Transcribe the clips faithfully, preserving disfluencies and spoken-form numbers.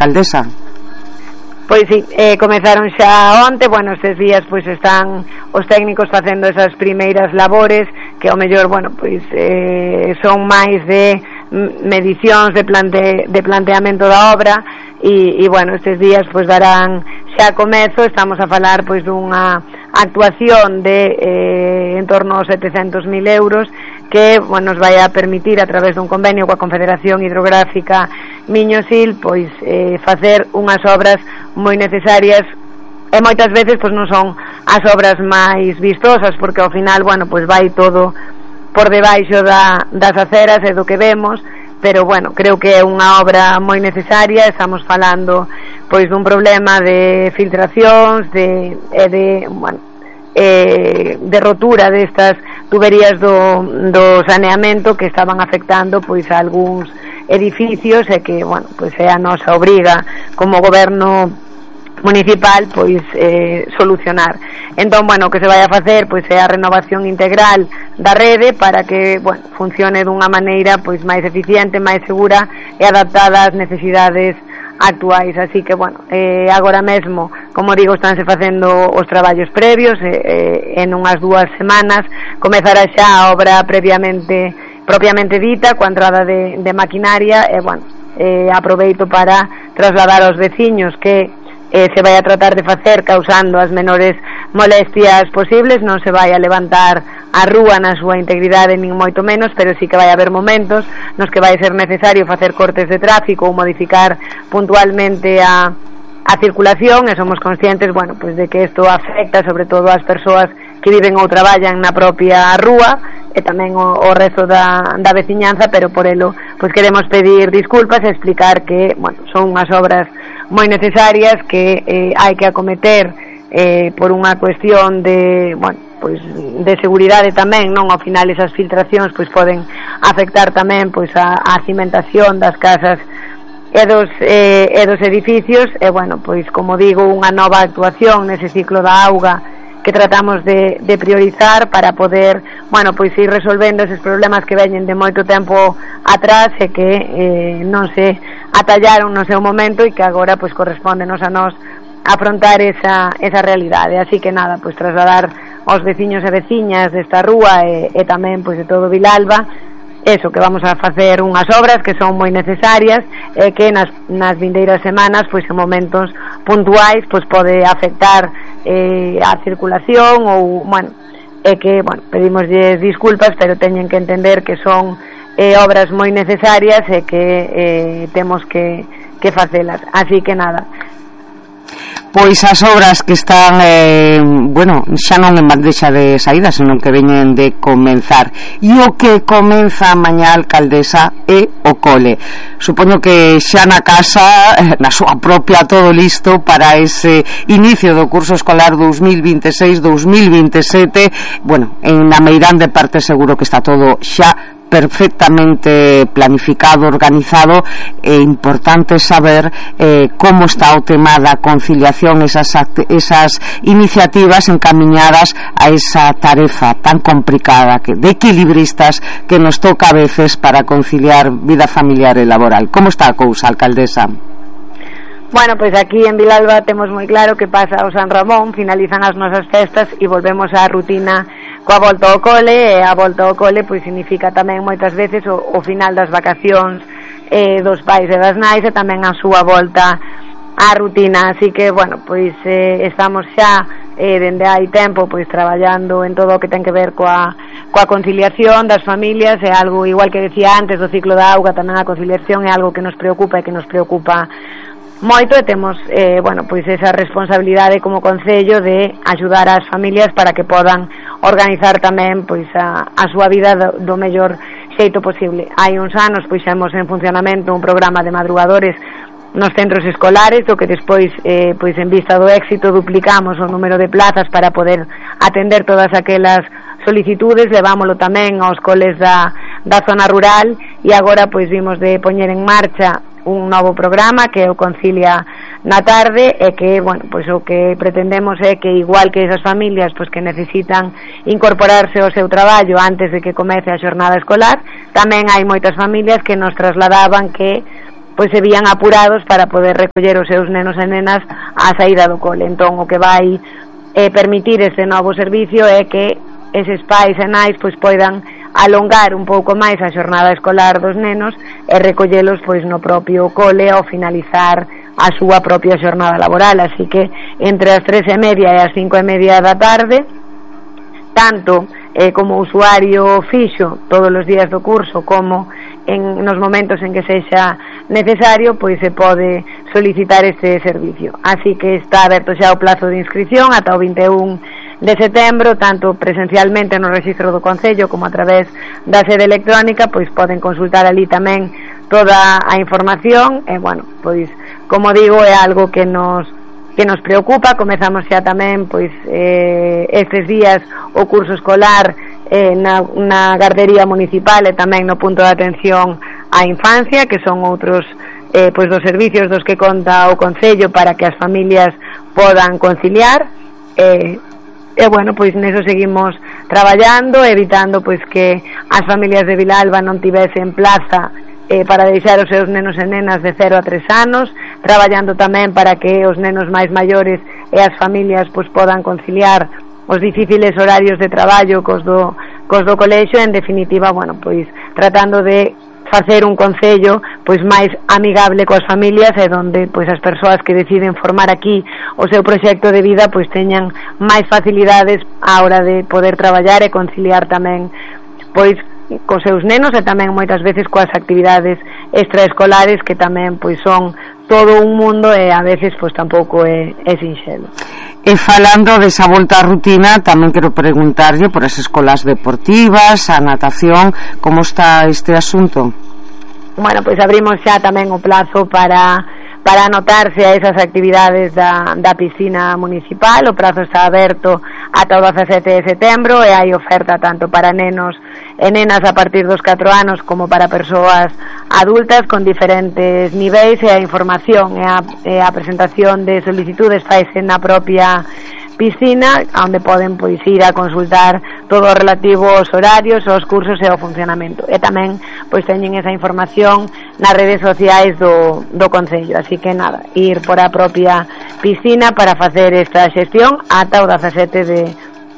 alcaldesa? Pois sí, eh, comezaron xa onte, bueno, estes días pois están os técnicos facendo esas primeiras labores que ao mellor, bueno, pois eh, son máis de medicións de, plante, de planteamento da obra e, e bueno, estes días pois darán xa comezo. Estamos a falar pois dunha actuación de eh, en torno aos setecentos mil euros que, bueno, nos vai a permitir a través dun convenio coa Confederación Hidrográfica Miño-Sil pois eh, facer unhas obras moi necesarias e moitas veces pois non son as obras máis vistosas porque ao final, bueno, pois vai todo por debaixo da, das aceras e do que vemos, pero bueno, creo que é unha obra moi necesaria. Estamos falando pois dun problema de filtracións de, de bueno, eh, de rotura destas tuberías do, do saneamento que estaban afectando pois a algúns edificios e que, bueno, pois é a nosa obriga como goberno municipal pois eh, solucionar. Entón, bueno, o que se vai a facer pois é a renovación integral da rede para que, bueno, funcione dunha maneira pois máis eficiente, máis segura e adaptada ás necesidades actuais. Así que, bueno, eh, agora mesmo, como digo, estánse facendo os traballos previos eh, eh, en unhas dúas semanas comezará xa a obra previamente propiamente dita coa entrada de, de maquinaria e, bueno, eh, aproveito para trasladar aos veciños que Eh, se vai a tratar de facer causando as menores molestias posibles. Non se vai a levantar a rúa na súa integridade nin moito menos, pero sí que vai haber momentos nos que vai ser necesario facer cortes de tráfico ou modificar puntualmente a, a circulación e somos conscientes, bueno, pues de que isto afecta sobre todo ás persoas que viven ou traballan na propia rúa e tamén o, o resto da, da veciñanza, pero por elo pues queremos pedir disculpas e explicar que, bueno, son unhas obras moi necesarias que eh, hai que acometer eh, por unha cuestión de, bueno, pois de seguridade tamén, non? Ao final esas filtracións pois poden afectar tamén pois a, a cimentación das casas e dos, eh, e dos edificios e, bueno, pois como digo, unha nova actuación nese ciclo da auga que tratamos de, de priorizar para poder, bueno, pois ir resolvendo eses problemas que veñen de moito tempo atrás e que eh, non se atallaron no seu momento e que agora pois correspóndenos a nós afrontar esa, esa realidade. Así que nada, pois trasladar aos veciños e veciñas desta rúa e, e tamén pois de todo Vilalba eso, que vamos a facer unhas obras que son moi necesarias e que nas, nas vindeiras semanas pois en momentos puntuais pois pode afectar eh, a circulación ou, bueno, e que, bueno, pedimoslle disculpas, pero teñen que entender que son eh, obras moi necesarias e que eh, temos que, que facelas. Así que nada, pois as obras que están eh, bueno, xa non en bandexa de saída, senón que veñen de comenzar, e o que comeza mañá, alcaldesa, é o cole. Supoño que xa na casa, na súa propia, todo listo para ese inicio do curso escolar dos mil vinte e seis dos mil vinte e sete. Bueno, en na Meirán de parte seguro que está todo xa perfectamente planificado, organizado. É importante saber eh, como está o tema da conciliación, esas, esas iniciativas encamiñadas a esa tarefa tan complicada que, de equilibristas que nos toca a veces para conciliar vida familiar e laboral. Como está a cousa, alcaldesa? Bueno, pois aquí en Vilalba temos moi claro que pasa o San Ramón, finalizan as nosas festas e volvemos á rutina coa volta ao cole, e a volta ao cole pois significa tamén moitas veces o, o final das vacacións eh, dos pais e das nais e tamén a súa volta á rutina. Así que, bueno, pois eh, estamos xa eh, dende hai tempo pois traballando en todo o que ten que ver coa, coa conciliación das familias. É algo, igual que decía antes do ciclo da auga, tamén a conciliación é algo que nos preocupa e que nos preocupa moito e temos, eh, bueno, pois esa responsabilidade como concello de axudar as familias para que podan organizar tamén pois a, a súa vida do, do mellor xeito posible. Hai uns anos pois xemos en funcionamento un programa de madrugadores nos centros escolares, o que despois eh, pois en vista do éxito duplicamos o número de plazas para poder atender todas aquelas solicitudes, levámoslo tamén aos coles da, da zona rural e agora pois vimos de poñer en marcha un novo programa que o Concilia na tarde e que, bueno, pois o que pretendemos é que igual que esas familias pois que necesitan incorporarse ao seu traballo antes de que comece a xornada escolar, tamén hai moitas familias que nos trasladaban que pois se vían apurados para poder recoller os seus nenos e nenas á saída do cole. Entón o que vai eh, permitir este novo servicio é que eses pais e nais pois poidan alongar un pouco máis a xornada escolar dos nenos e recollelos pois no propio cole ao finalizar a súa propia xornada laboral. Así que entre as tres e media e as cinco e media da tarde, tanto eh, como usuario fixo todos os días do curso como en nos momentos en que sexa necesario, pois se pode solicitar este servicio. Así que está aberto xa o plazo de inscripción ata o vinte e un de setembro, tanto presencialmente no rexistro do Concello como a través da sede electrónica, pois poden consultar ali tamén toda a información e, bueno, pois, como digo, é algo que nos que nos preocupa. Comezamos xa tamén, pois, eh, estes días o curso escolar eh, na, na gardería municipal e tamén no punto de atención á infancia, que son outros eh, pois dos servicios dos que conta o Concello para que as familias podan conciliar. eh, E, bueno, pois neso seguimos traballando, evitando pois que as familias de Vilalba non tivesen plaza eh, para deixar os seus nenos e nenas de cero a tres anos, traballando tamén para que os nenos máis maiores e as familias pois podan conciliar os difíciles horarios de traballo cos do, cos do colexio. En definitiva, bueno, pois tratando de facer un concello pois máis amigable coas familias e donde pois as persoas que deciden formar aquí o seu proxecto de vida pois teñan máis facilidades á hora de poder traballar e conciliar tamén pois cos seus nenos e tamén moitas veces coas actividades extraescolares, que tamén pois son todo un mundo e a veces pois tampouco é, é sinxelo. E falando desa volta á rutina, tamén quero preguntarlle por as escolas deportivas, a natación, como está este asunto? Bueno, pois abrimos xa tamén o plazo para para anotarse a esas actividades da, da piscina municipal. O prazo está aberto ata o dezasete de setembro e hai oferta tanto para nenos e nenas a partir dos catro anos como para persoas adultas con diferentes niveis, e a información e a, e a presentación de solicitudes faise na propia piscina, onde poden pois ir a consultar todo o relativo aos horarios, aos cursos e ao funcionamento. E tamén pois teñen esa información nas redes sociais do, do Concello. Así que nada, ir por a propia piscina para facer esta xestión ata o dezasete de,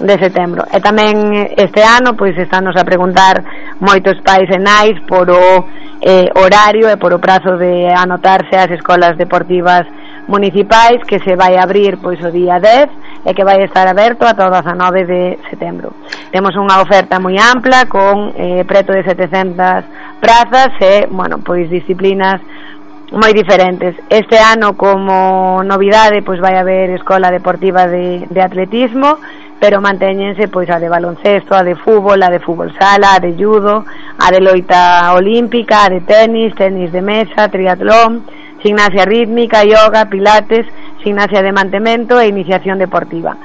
de setembro. E tamén este ano pois estános a preguntar moitos pais e nais por o eh, horario e por o prazo de anotarse ás escolas deportivas municipais, que se vai abrir pois o día dez e que vai estar aberto ata o dezanove de setembro. Temos unha oferta moi ampla con eh, preto de setecentas prazas e, bueno, pois disciplinas moi diferentes. Este ano, como novidade, pois vai haber escola deportiva de, de atletismo, pero mantéñense pois a de baloncesto, a de fútbol, a de fútbol sala, a de judo, a de loita olímpica, a de tenis, tenis de mesa, triatlón, gimnasia rítmica, yoga, pilates, gimnasia de mantemento e iniciación deportiva.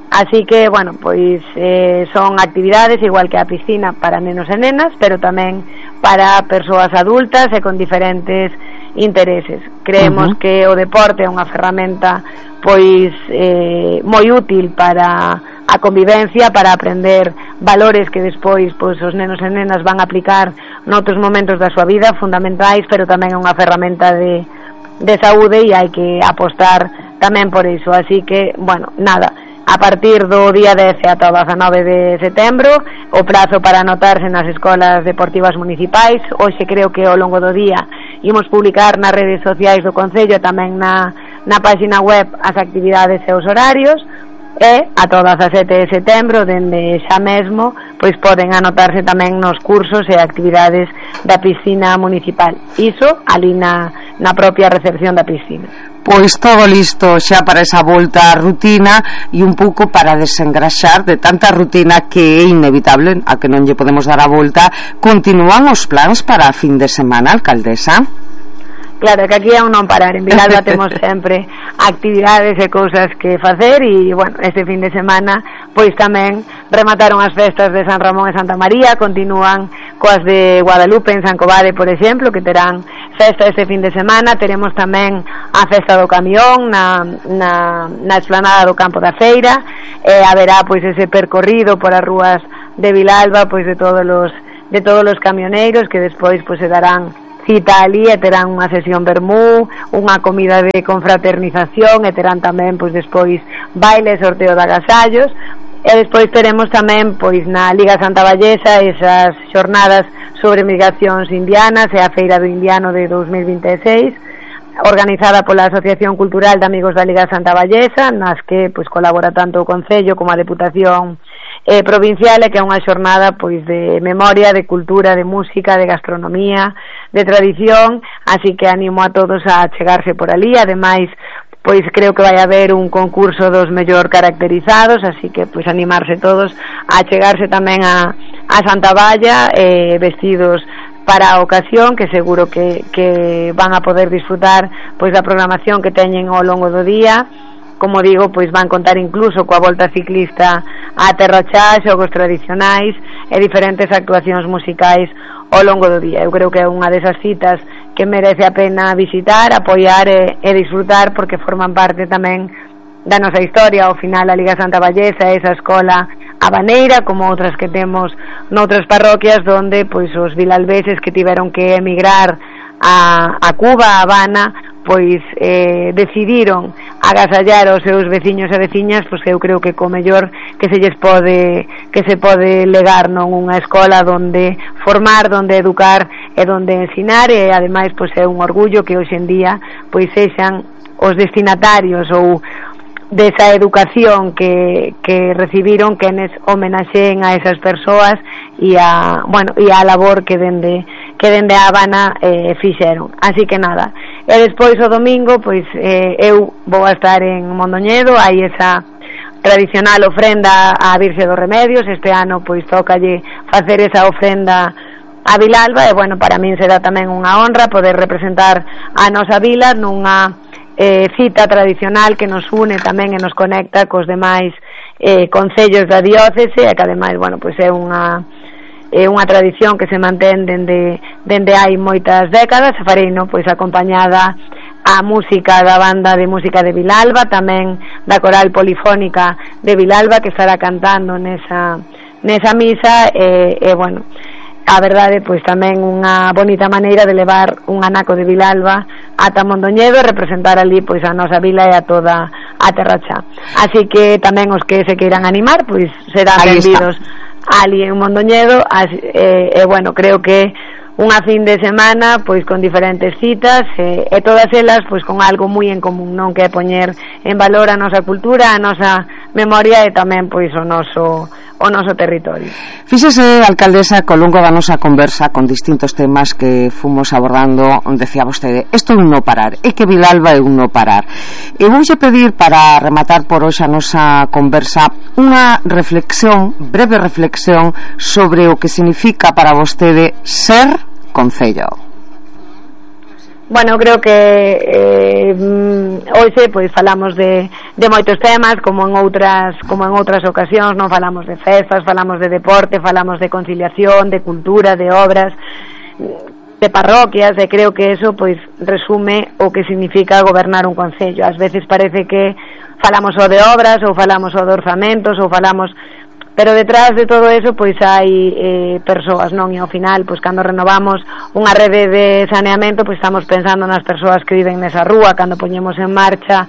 Así que, bueno, pois eh, son actividades igual que a piscina para nenos e nenas, pero tamén para persoas adultas e con diferentes intereses. Creemos uh-huh. que o deporte é unha ferramenta pois eh, moi útil para a convivencia, para aprender valores que despois pois os nenos e nenas van a aplicar noutros momentos da súa vida fundamentais, pero tamén é unha ferramenta de, de saúde e hai que apostar tamén por iso. Así que, bueno, nada, a partir do día dez ata o dezanove de setembro o prazo para anotarse nas escolas deportivas municipais. Hoxe creo que ao longo do día imos publicar nas redes sociais do Concello, tamén na, na página web, as actividades e os horarios, e ata o dezasete de setembro, dende xa mesmo, pois poden anotarse tamén nos cursos e actividades da piscina municipal. Iso ali na, na propia recepción da piscina. Pois todo listo xa para esa volta á rutina e un pouco para desengraxar de tanta rutina que é inevitable, a que non lle podemos dar a volta. Continúan os plans para a fin de semana, alcaldesa? Claro, que aquí é un non parar. En Vilalba temos sempre actividades e cousas que facer e, bueno, este fin de semana pois tamén remataron as festas de San Ramón e Santa María, continúan coas de Guadalupe en San Covade, por exemplo, que terán festa este fin de semana. Teremos tamén a festa do camión na, na, na explanada do campo da feira, e haberá pois ese percorrido por as rúas de Vilalba pois de todos os de todos os camioneiros, que despois pois se darán cita ali e terán unha sesión vermú, unha comida de confraternización e terán tamén pois despois baile, sorteo de agasallos. E despois teremos tamén pois na Liga Santa Vallesa esas xornadas sobre migracións indianas e a Feira do Indiano de dos mil vinte e seis, organizada pola Asociación Cultural de Amigos da Liga Santa Vallesa, nas que pois colabora tanto o Concello como a Deputación eh, Provincial, e que é unha xornada pois de memoria, de cultura, de música, de gastronomía, de tradición, así que animo a todos a chegarse por ali. Ademais, pois creo que vai haber un concurso dos mellor caracterizados, así que pois animarse todos a chegarse tamén a, a Santa Valla eh, vestidos para a ocasión, que seguro que, que van a poder disfrutar pois da programación que teñen ao longo do día. Como digo, pois van contar incluso coa volta ciclista a Terra Chá, xogos tradicionais e diferentes actuacións musicais ao longo do día. Eu creo que é unha desas citas que merece a pena visitar, apoiar e, e disfrutar, porque forman parte tamén da nosa historia. Ao final a Liga Santa Vallesa é esa escola habaneira, como outras que temos noutras parroquias, donde pois os vilalbeses que tiveron que emigrar a, a Cuba, a Habana, pois eh, decidiron agasallar os seus veciños e veciñas, pois eu creo que co mellor que se lles pode que se pode legar, non, unha escola donde formar, donde educar e donde ensinar, e ademais pois é un orgullo que hoxe en día pois sexan os destinatarios ou desa educación que, que recibiron quenes homenaxeen a esas persoas e a, bueno, e a labor que dende que dende a Habana eh, fixeron. Así que nada, e despois o domingo pois eh, eu vou a estar en Mondoñedo, hai esa tradicional ofrenda á Virxe dos Remedios. Este ano pois tócalle facer esa ofrenda a Vilalba, e bueno, para min será tamén unha honra poder representar a nosa vila nunha eh, cita tradicional que nos une tamén e nos conecta cos demais eh, concellos da diócese, e que ademais, bueno, pois é unha é unha tradición que se mantén dende, dende hai moitas décadas. E farei, no, pois acompañada a música da banda de música de Vilalba, tamén da coral polifónica de Vilalba, que estará cantando nesa, nesa misa, e, e bueno, a verdade, pois tamén unha bonita maneira de levar un anaco de Vilalba ata Mondoñedo e representar ali pois a nosa vila e a toda a Terra Chá. Así que tamén os que se queiran animar pois serán benvidos ali en Mondoñedo. Así, e, e bueno, creo que unha fin de semana pois con diferentes citas e, e todas elas pois con algo moi en común, non, que é poñer en valor a nosa cultura, a nosa memoria e tamén pois o noso o noso territorio. Fíxese, alcaldesa, co longo da nosa conversa con distintos temas que fomos abordando, decía vostede, isto é un no parar, é que Vilalba é un no parar. E voulle pedir, para rematar por hoxe a nosa conversa, unha reflexión, breve reflexión sobre o que significa para vostede ser concello. Bueno, creo que eh, hoxe pois falamos de, de moitos temas, como en outras como en outras ocasións, non falamos de festas, falamos de deporte, falamos de conciliación, de cultura, de obras, de parroquias, e creo que eso pois resume o que significa gobernar un concello. Ás veces parece que falamos só de obras, ou falamos só de orzamentos, ou falamos, pero detrás de todo eso pois hai eh, persoas, non? E ao final, pois cando renovamos unha rede de saneamento, pois estamos pensando nas persoas que viven nesa rúa. Cando poñemos en marcha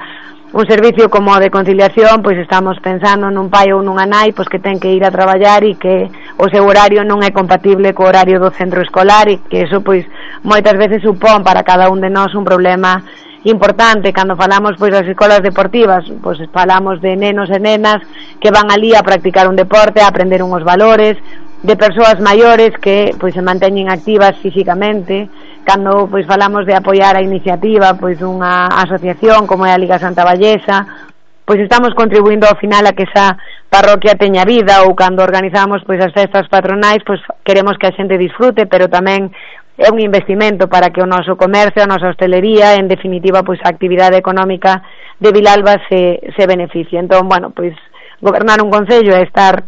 un servicio como o de conciliación, pois estamos pensando nun pai ou nunha nai pois que ten que ir a traballar e que o seu horario non é compatible co horario do centro escolar, e que eso pois moitas veces supón para cada un de nós un problema importante. Cando falamos pois das escolas deportivas, pois falamos de nenos e nenas que van ali a practicar un deporte, a aprender unhos valores, de persoas maiores que pois se manteñen activas físicamente. Cando pois falamos de apoiar a iniciativa pois dunha asociación como é a Liga Santa Vallesa, pois estamos contribuindo ao final a que esa parroquia teña vida. Ou cando organizamos pois as festas patronais, pois queremos que a xente disfrute, pero tamén é un investimento para que o noso comercio, a nosa hostelería, en definitiva, pois a actividade económica de Vilalba se, se beneficie. Entón, bueno, pois gobernar un concello é estar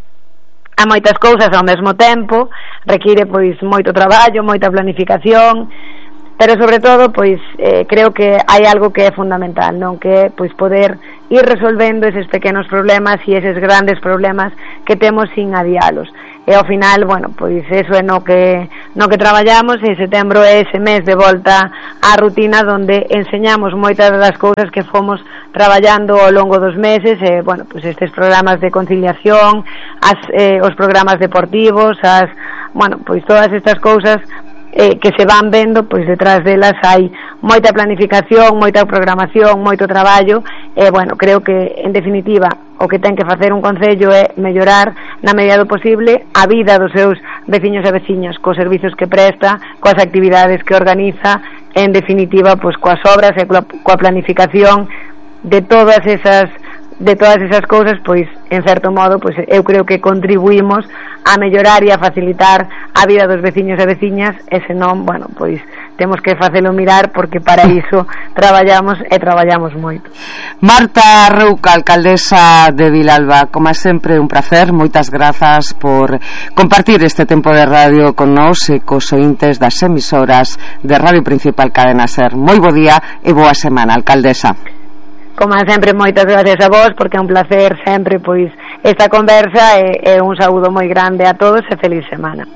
a moitas cousas ao mesmo tempo, require pois moito traballo, moita planificación, pero sobre todo pois eh, creo que hai algo que é fundamental, non, que é pois poder ir resolvendo eses pequenos problemas e eses grandes problemas que temos sin adialos. E ao final, bueno, pois eso é no que no que traballamos, e setembro é ese mes de volta á rutina donde enseñamos moitas das cousas que fomos traballando ao longo dos meses, e, bueno, pues estes programas de conciliación, as, eh, os programas deportivos, as, bueno, pois todas estas cousas eh, que se van vendo, pois detrás delas hai moita planificación, moita programación, moito traballo, e, bueno, creo que, en definitiva, o que ten que facer un concello é mellorar na medida do posible a vida dos seus veciños e veciñas, cos servizos que presta, coas actividades que organiza, en definitiva, pois coas obras e coa, coa planificación de todas esas de todas esas cousas, pois en certo modo, pois eu creo que contribuímos a mellorar e a facilitar a vida dos veciños e veciñas, e senón, bueno, pois temos que facelo mirar, porque para iso traballamos e traballamos moito. Marta Rouca, alcaldesa de Vilalba, como sempre un placer, moitas grazas por compartir este tempo de radio con nós e cos ointes das emisoras de Radio Principal Cadena Ser. Moi bo día e boa semana, alcaldesa. Como sempre, moitas gracias a vos, porque é un placer sempre pois esta conversa, e, e un saúdo moi grande a todos e feliz semana.